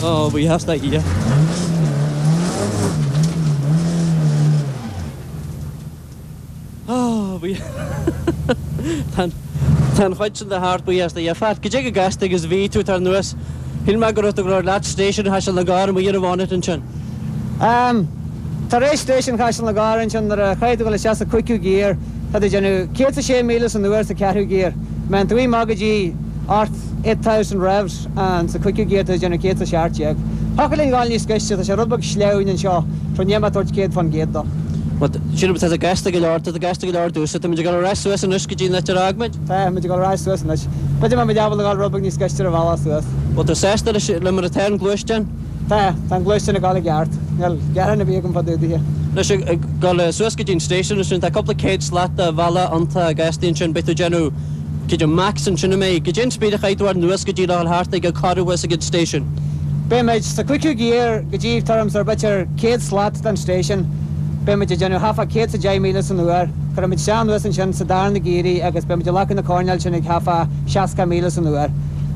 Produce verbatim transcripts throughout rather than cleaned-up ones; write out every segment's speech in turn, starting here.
Ó, buíochas le Dia. Ó, bhí. Tá an chuid sin de thart, buíochas le Dia. Phat, cad é chomh gasta agus a bhí tú tar anuas? Shíl mé go raibh tú ag rá leat Station Chaiseal na gCorr amuigh ar an bhonnet ansin. Um, tar éis Station Chaiseal na gCorr ansin nuair a chaithfidh tú dul isteach sa cúigiú giar, tá tú ag déanamh céad is a sé míle san uair sa ceathrú giar. Má théann tú amach go dtí ocht, eight thousand revs and sa cúigiú giar tá tú ag déanamh céad is a seacht déag. Thiocfadh linn dhul níos gaiste, tá sé rud beag sleamhain anseo, so níl mé ag tabhairt céad fán gcéad dó. Bhuel, sílim tá tú gasta go leor, tá tú gasta go leor domhsa, tá muid ag dul ar ais suas anois go dtí an áit ar fhág muid. Tá muid ag dul ar ais suas anois. B'fhéidir má muid ábalta dhul rud beag níos gaiste ar an bhealach suas. Bhfuil tú sásta leis, le mar atá an gluaisteán? Tá, tá an gluaisteán ag dul i gceart. Níl gearán ar bith agam fá dtaobh de. Anois ag dul suas go dtí an station ansin, tá cúpla céad slat de bhealach iontach gasta ansin, beidh tú ag déanamh cad é max ansin an mbeidh? Cad é an speed a chaithfidh tú a anuas go dtí le dhul thart ag an corradh thuas ag an station? Beidh muid sa cúigiú giar go dtí tuairim is ar b'fhéidir céad slat den station. Beidh muid ag déanamh thart fá céad is a deich míle san uair. Cuirfidh muid isteach anuas ansin sa darna giar í agus beidh muid ag glacadh na coirnéil sin ag thart fá seasca míle san uair.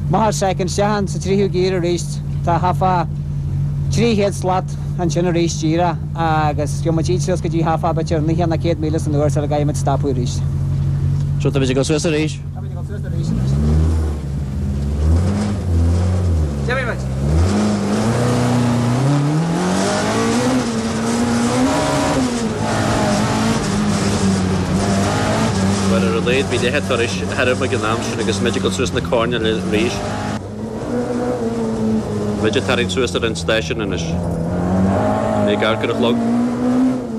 Amach ar soicind, isteach sa tríú giar arís, tá thart fá trí chéad slat ansin arís díreach agus gheobhaidh muid iad suas go dtí thart fá b'fhéidir naocha nó céad míle san uair sula gcaithfidh muid stopadh arís. So tá muid ag dul suas arís. Tá muid ag dul suas arís anois. D'imigh muid. Bhuel, ar a laghad bhí leath an turais thirim ag an am sin agus muid ag dul suas na coirnéil arís. Muid ag tarraingt suas ar an stáisiún anois. Mé ag amharc ar an chlog.